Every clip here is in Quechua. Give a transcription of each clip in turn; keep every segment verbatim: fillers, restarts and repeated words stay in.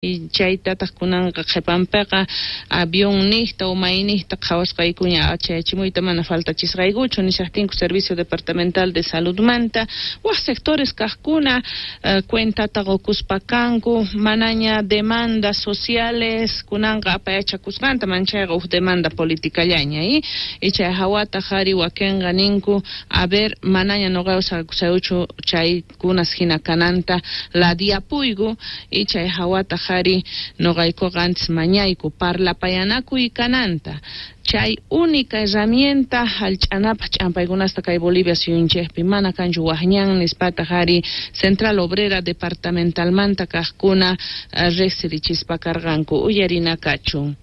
Chaytataq kunanqa qhipanpiqa avion niqta o mayniqta qhawasqaykuña chayachimuyta mana faltachisqaykuchu nishaqtinku Servicio Departamental de Saludmanta waq sectores kaqkuna cuentata qukuspa kanku manaña demandas sociales kunanqa apayachakusqanta manchayqa huk demanda politicallaña y chay hawata qhari wakinqa ninku a ver manaña nuqaywan saqakusayuchu chaykunas hina kananta ladiapuyku y chay hawata qhari nuqaykuqa antes mañayku parlapayanakuy kananta chay única herramienta hallch'anapaq ch'ampaykunasta kay Bolivia suyunchikpi mana kanchu waqñan nispata qhari Central Obrera Departamentalmanta kaqkuna riqsirichispa karqanku uyarina kachun.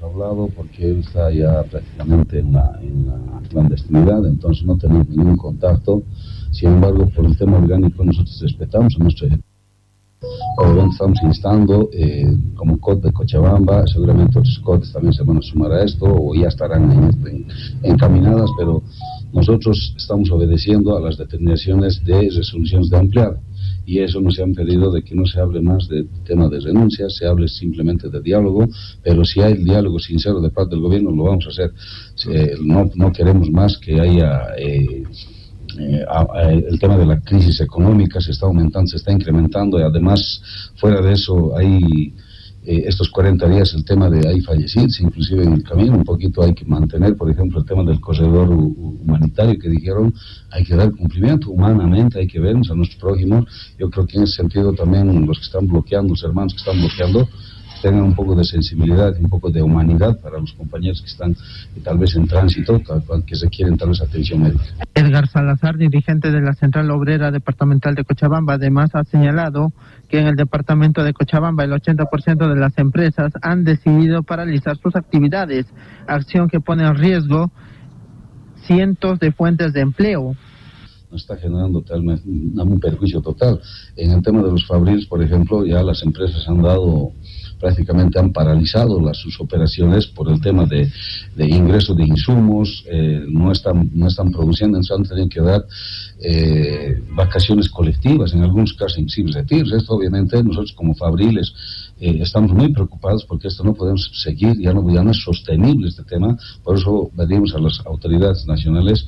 Hablado porque él está ya prácticamente en la, en la clandestinidad, entonces no tenemos ningún contacto. Sin embargo, por el tema orgánico nosotros respetamos a nuestro Obviamente estamos instando eh, como C O T de Cochabamba, seguramente otros C O Ts también se van a sumar a esto o ya estarán en este, encaminadas, pero nosotros estamos obedeciendo a las determinaciones de resoluciones de ampliado y eso nos han pedido de que no se hable más de tema de renuncia, se hable simplemente de diálogo, pero si hay diálogo sincero de parte del gobierno lo vamos a hacer. Eh, no, no queremos más que haya... Eh, Eh, a, a, el tema de la crisis económica se está aumentando, se está incrementando y además fuera de eso hay eh, estos cuarenta días el tema de hay fallecidos inclusive en el camino, un poquito hay que mantener por ejemplo el tema del corredor humanitario que dijeron, hay que dar cumplimiento humanamente, hay que vernos a nuestros prójimos. Yo creo que en ese sentido también los que están bloqueando, los hermanos que están bloqueando, tengan un poco de sensibilidad, un poco de humanidad para los compañeros que están eh, tal vez en tránsito, que requieren tal vez atención médica. Edgar Salazar, dirigente de la Central Obrera Departamental de Cochabamba, además ha señalado que en el departamento de Cochabamba el ochenta por ciento de las empresas han decidido paralizar sus actividades, acción que pone en riesgo cientos de fuentes de empleo. Nos está generando tal, un perjuicio total. En el tema de los fabriles, por ejemplo, ya las empresas han dado, prácticamente han paralizado las, sus operaciones por el tema de, de ingreso de insumos, eh, no están, no están produciendo, entonces han tenido que dar eh, vacaciones colectivas, en algunos casos inclusive retiros. Esto obviamente nosotros como fabriles eh, estamos muy preocupados porque esto no podemos seguir, ya no, ya no es sostenible este tema, por eso pedimos a las autoridades nacionales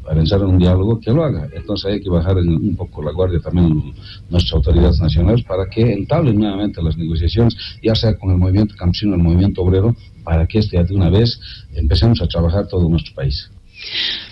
a pensar en un diálogo que lo haga. Entonces hay que bajar en, un poco la guardia también nuestras autoridades nacionales para que entablen nuevamente las negociaciones, ya sea con el movimiento campesino, el movimiento obrero, para que este ya de una vez empecemos a trabajar todo nuestro país.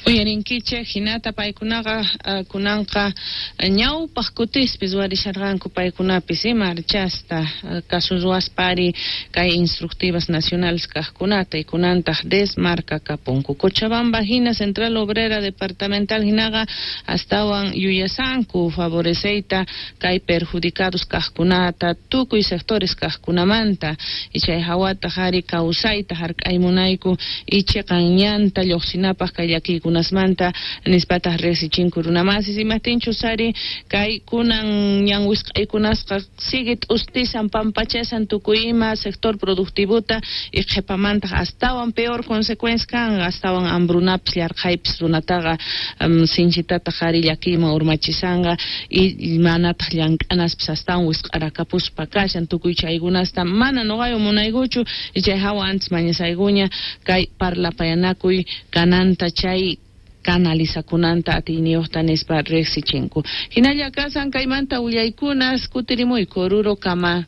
Uyarinkichik hinata paykunaqa uh, kunanqa ñawpaq kutispis warisharqanku paykunapis marchasta uh, kasu ruwaspari kay instructivas nacionales kaqkunata y kunantaq desmarca kapunku. Cochabamba hina Central Obrera Departamental hinaqa astawan yuyasanku favoreceyta kay perjudicados kaqkunata tukuy sectores kaqkunamanta y chay hawata qhari kawsayta hark'aymunayku y chiqan ñanta lluqsinapaq kay llakiykunasmanta nispataq riqsichinku runamasis imaptinchus ari kay kunan ñan wisq'aykunasqa sigue t'ustisan pampachasan tukuy ima sector productivota y qhipamantaq astawan peor consecuencia kan astawan hambrunapis llarqhaypis runataqa um, sinchitataq ari llakiyman urmachisanqa y manataq llank'anaspis astawan wisq'arakapuspa kashan tukuy chaykunasta mana nuqayu munaykuchu y chay hawa antes mañasaykuña kay parlapayanakuy kananta chay canalizakunanta atiyniyuqta nispa riqsichinku. Hinalla kasan kaymanta willaykunas kutirimuyku Oruro kama.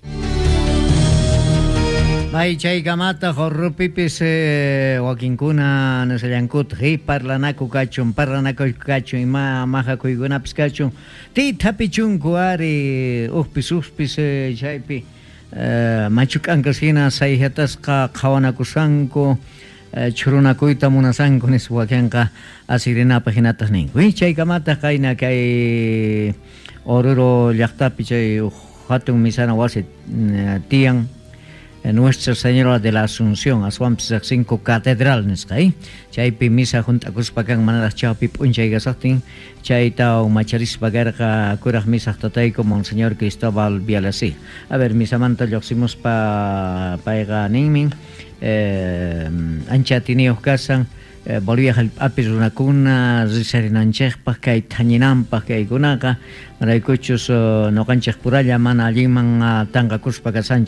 May chaykamata Orurupipis eh, wakinkuna nisallankutaq y parlanaku kachun, parlanaku kachun, ima mahakuykunapis kachun, tithapichunku ari uqpis uqpis eh, chaypi eh, machuk'ankas hina sayhatasqa qhawanakusanku churunakuyta munasanku nispa wakinqa asirinapaq hinataq ninku. Y chaykamataq qayna kay Oruro llaqtapi chay hatun misana wasi tiyan Nuestra Señora de la Asunción, aswanpis riqsinku catedral nisqa, eh? Chaypi misa hunt'akuspa kan manaraq chawpi p'unchay kasaqtin chayta macharispa karqa kuraq misaq tatayku Monseñor Cristóbal Vialasi. A ver, misamanta lluqsimuspa payqa ninmin eh, ancha atiniyuq kasan eh, Bolivia hallp'api runakuna risarinanchikpaq kay thañinanpaq kaykunaqa maraykuchus uh, ñuqanchik puralla mana allinman uh, tanqakuspa kasanchik.